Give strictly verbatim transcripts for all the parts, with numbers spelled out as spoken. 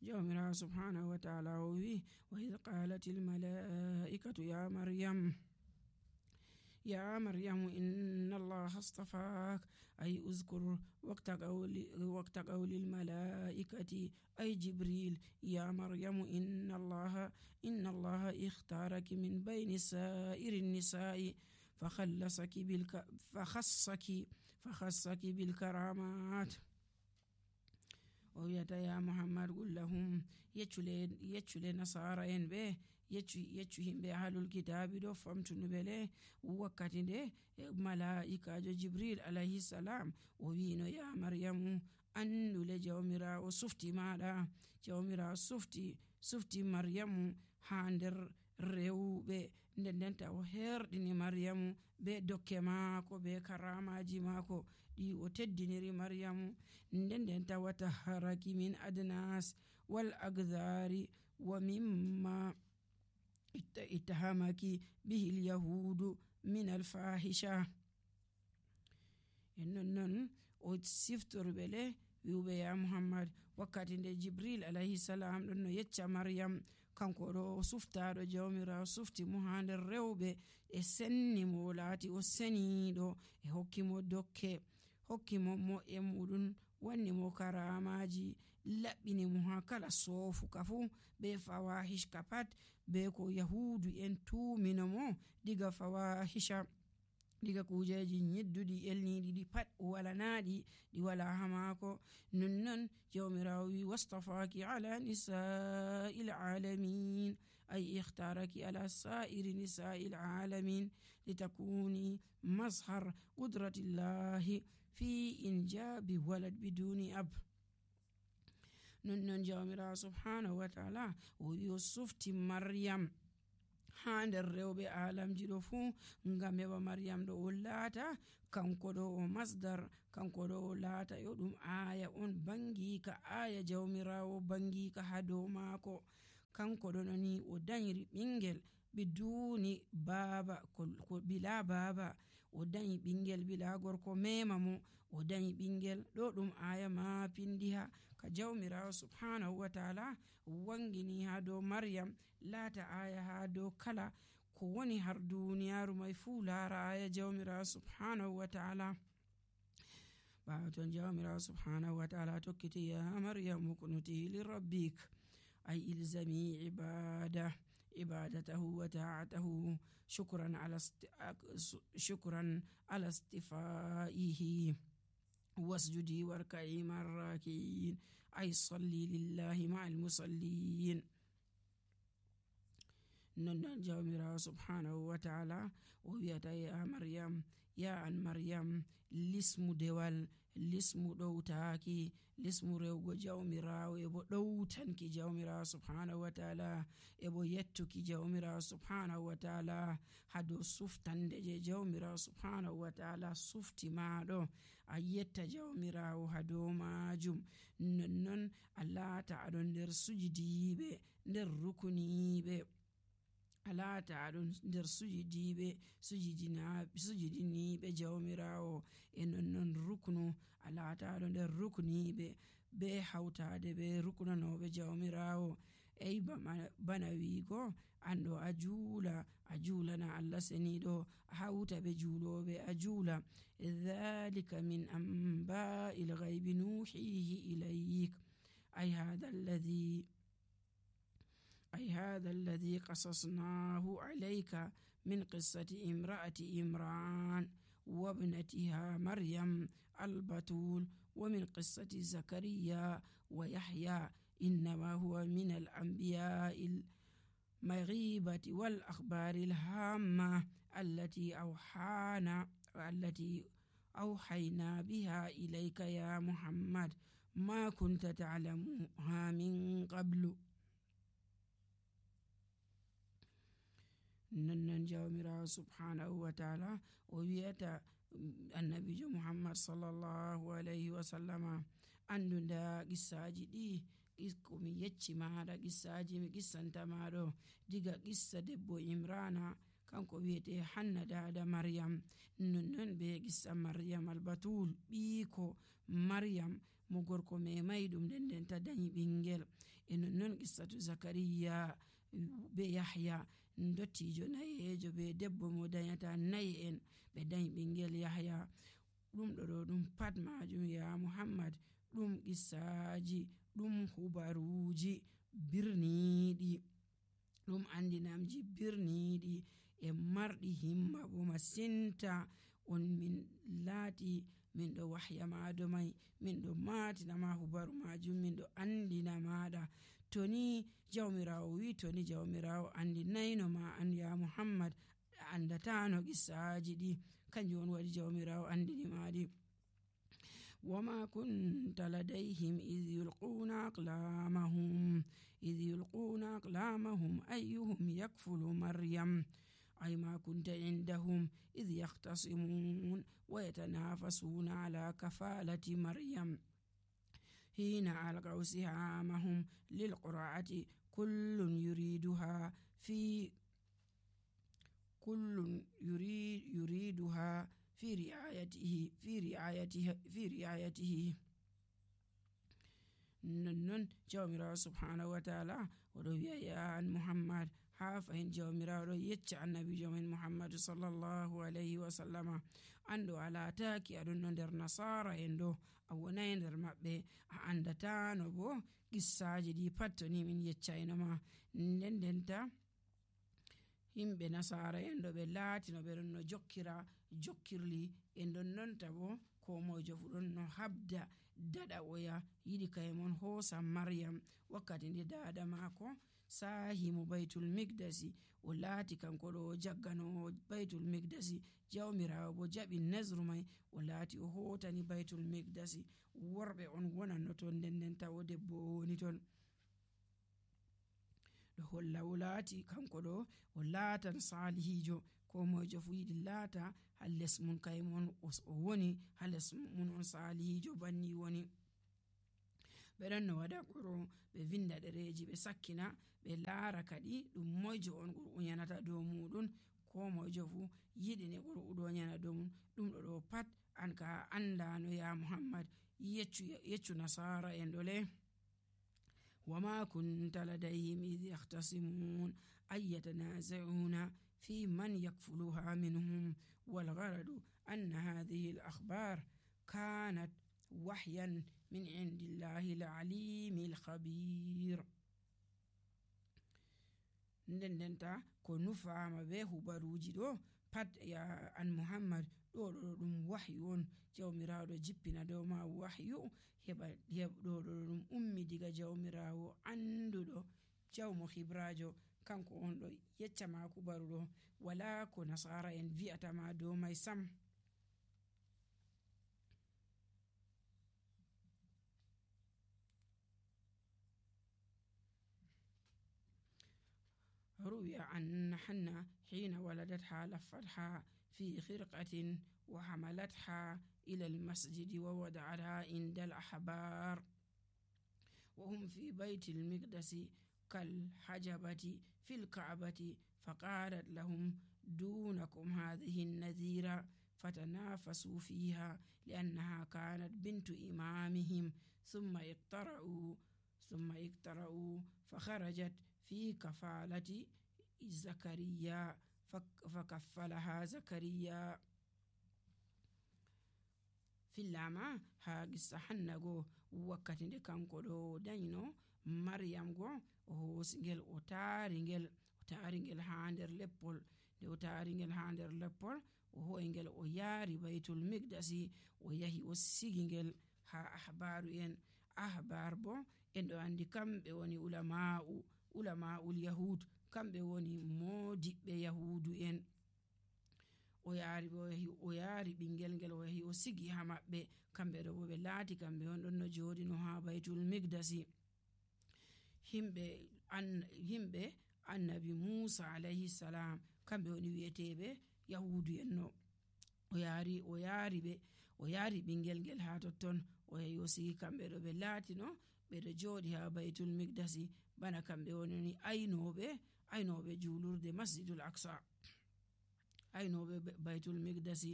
jawmira subhanahu wa ta'ala o wi wa idh qalatil malaikatu ya maryam يا مريم إن الله اصطفاك أي أذكر وقت قول وقت قول الملائكة أي جبريل يا مريم إن الله إن الله اختارك من بين سائر النساء فخلصك بالك فخصك فخصك بالكرامات ويتا يا محمد قل لهم يچule يچule نصارى en be yeccu yeccu himbe ahlul kitabi do famtunu bele wakkati de malaikajo jibril alayhi salam o wino ya maryamu annule jawmira o sufti mada jawmira sufti sufti maryamu ha nder rewbe ndendenta o herdini maryamu be dokke maako be karamaji maako di o teddiniri maryamu ndendenta wata haraki min adnas wal agdhari wa mimma اتهمك به اليهود من الفاحشة إنن وتسفتر بله يوبي يا محمد وقت جبريل عليه السلام لأنه يتشى مريم كان كورو سفتار جوميرا سفتي مهان الروبة السني مولاتي والسني دو هكيمو دوكي هكيمو مو يمودن wanni mo karamaji labbini mo ha kala sofu kafu be fawahish kapat be ko yahudu en tumino mo diga fawahisha diga kujeji nyiddudi elnidi di pat wala naadi di wala hamako nunnon jawmirawi wastafaki ala nisa'il alamin ay ikhtaraki ala sa'iri nisa'il alamin litakuni mazhar qudratillahi في إنجاب ولد بدون أب ننن جامرا سبحانه وتعالى ويوسف مريم hande rewbe alam jido fu ngam heba maryam do lata kanko do masdar kanko do lata yo dum aya on bangi ka aya jawmirawo bangi ka hado mako kanko do nani o danyri bingel biduni baba ko bila baba o danyi bingel bila gorko mema mo o danyi bingel do dum aya ma pindiha ka jawmirawo subhanahu wa ta'ala wangini ha do maryam lata aya ha do kala ko woni har duniyaru mai fu lara aya jawmirawo subhanahu wa ta'ala ba ton jawmirawo subhanahu wa ta'ala tokkiti ya maryam kunuti li rabbik ay ilzami ibada عبادته وطاعته شكرا على است... شكرا على استفائه واسجدي واركعي مع الراكعين أي صلي لله مع المصلين نن جامرا سبحانه وتعالى وياتا يا مريم يا أن مريم لسم دوال لسم دوتاكي لسم ريوغو جامرا ويبو دوتانكي جامرا سبحانه وتعالى يبو يتوكي جامرا سبحانه وتعالى هدو سفتان دي جامرا سبحانه وتعالى سفتي مادو أيتا جامرا وهدو ماجم ننن الله تعالى ندر سجدي بي ندر ركني بي ala ta'adun der sujudi be sujidina sujidini be jawmirawo en non ruknu ala ta'adun der rukni be be hawtade be ruknu no be jawmirawo ey bana wigo ando ajula ajula na Allah senido hawta be julobe ajula dhalika min amba'il ghaibi nuhihi ilayk ay hadha alladhi أي هذا الذي قصصناه عليك من قصة امرأة إمران وابنتها مريم البتول ومن قصة زكريا ويحيى إنما هو من الأنبياء المغيبة والأخبار الهامة التي أوحانا التي أوحينا بها إليك يا محمد ما كنت تعلمها من قبل نن جامرا سبحانه وتعالى ويتا النبي محمد صلى الله عليه وسلم أن دا قصاجي دي komi yecci maada qissaji mi qissanta maado diga qissa debbo imrana kanko wiete hanna dada maryam nonnon be qissa maryam albatul biko maryam mo gorko memai ɗum nden ndenta dañi ɓingel. E nonnon qissatu zakariya be yahya, dottijo nayejo be debbo mo danyata nayi en ɓe dañi ɓingel yahya. ɗum ɗo ɗo ɗum pat majum ya muhammad ɗum qissaji, ɗum hubaruji birniɗi, ɗum andinamji birniɗi e marɗi himma bo masinta. On min laati min ɗo wahya maɗo mai, min ɗo matinama hubaru majum, min ɗo andina maɗa. To ni jawmirawo wi to ni jawmirawo andinayno ma an ya muhammad a andatano qissaji ɗi, kanjum on waɗi jawmirawo andini maɗi. وما كنت لديهم إذ يلقون أقلامهم إذ يلقون أقلامهم أيهم يكفل مريم أي ما كنت عندهم إذ يختصمون ويتنافسون على كفالة مريم حين ألقوا سهامهم للقرعة كل يريدها في كل يريد يريدها في رعايته في رعايته في رعايته ننن جawmirawo subhanahu wa ta'ala oɗo wi'a ya an muhammad ha fahin jawmirawo ɗo yecca annabijo men muhammadu sallallahu alayhi wa sallama, an ɗo a lataki aɗon no nder nasara en ɗo, a wonai nder maɓɓe, a andatano bo qissaji ɗi pat to ni min yeccaynoma. nden ndenta himɓe nasara en ɗo ɓe laati no ɓe ɗon no jokkira jokkirli e ɗon nonta bo ko mojo fu ɗon no habda daɗa oya yiɗi kaymon hoosa maryam. wakkati nde dada mako sahimo baytul migdasi, o laati kanko ɗo o jagganowo baytul migdasi, jawmirawo bo jaɓi nasru mai o laati o hotani baytul migdasi. worɓe on wonanno ton, nden ndenta o debbo o woni ton. ɗo holla o laati kanko ɗo o laatan salihijo, ko mojo fu yiɗi laata ha les mun kaymon o woni, ha les mun on salihijo banni woni. ɓe ɗon no waɗa quro ɓe vinda ɗereji ɓe sakkina, ɓe laara kadi ɗum moijo on qur'u yanata dow muɗum, ko moijo fu yiɗini qur'u ɗo yana dow mum. ɗum ɗo ɗo pat an ka andano ya muhammad, yeccu yeccu nasara en ɗole. وما كنت لديهم إذ يختصمون أي يتنازعون في من يكفلها منهم والغرض أن هذه الأخبار كانت وحيا من عند الله العليم الخبير. ndendenta ko nufama be hubaruji ɗo pat ya an muhammad ɗo ɗo ɗum wahyu on, jawmirawo ɗo jippina dow ma wahyu heɓa ɗo ɗo ɗum ummi diga jawmirawo anduɗo jawmo hibrajo, kanko on ɗo yecca ma kubaru ɗo, wala ko nasara en vi'atama dow mai sam. روي أن حنة حين ولدتها لفتها في خرقة وحملتها إلى المسجد ووضعتها عند الأحبار وهم في بيت المقدس كالحجبة في الكعبة، فقالت لهم دونكم هذه النذيرة، فتنافسوا فيها لأنها كانت بنت إمامهم، ثم اقترعوا ثم اقترعوا فخرجت في كفالة زكريا فكفلها زكريا. fillama ha gissa hanna go wakkati nde kanko ɗo dañino maryam go o hoosingel o taringel o taringel ha nder leppol, nde o taringel ha nder leppol o hoyngel o yaari baytul migdasi, o yahi o sigingel ha ahbaru en. ahbar bo en ɗo andi kamɓe woni ulama'u ulama'ul yahud, kamɓe woni modiɓɓe yahudu en. o yaari bo o yaari ɓingel ngel o yahi o sigi ha maɓɓe, kamɓe ɗo bo ɓe laati kamɓe on ɗon no joɗino ha baytul migdasi. himɓe an himɓe annabi musa alayhi salam, kamɓe woni wi'eteɓe yahudu en no. o yaari o yaari ɓe o yaari ɓingel ngel ha totton, o yahi o sigi kamɓe ɗo ɓe laatino ɓeɗo joɗi ha baytul migdasi, bana kamɓe woni aynoɓe aynoɓe julurde masjidul aqsa. aynoɓe baytul miqdasi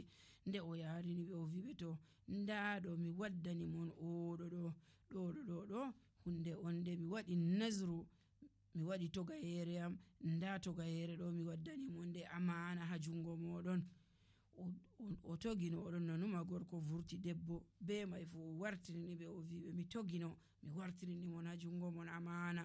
nde o yarini ɓe o wiɓe to nda ɗo mi waddani mon oɗo ɗo ɗo ɗo ɗo hunde on nde mi waɗi nazru mi waɗi togayere am nda togayere ɗo mi waddani mon nde amana ha jungo moɗon. o togino oɗon nanuma gorko vurti debbo be mai fu o wartirini ɓe o wiɓe mi togino mi wartirini mon ha jungo mon amana